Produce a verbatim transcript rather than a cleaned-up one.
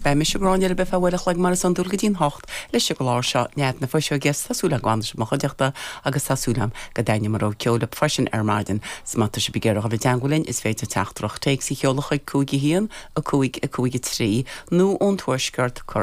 Beidh mise Gráinne libh ar feadh uair a chloig mar is iondúil go dtí'n hocht leis an gclár seo Nead na Fuiseoige tá súil agam go bhfanfaidh sibh i mo chuideachta agus tá súil agam go dtaitneoidh mo rogha ceoil libh freisin ar maidin. 'S má tá sibh ag iarraidh dul i dteagmháil linn is féidir teachtaireacht téacs a sheoladh chuig cúig a haon a cúig a cúig a trí nó ón tuaisceart cur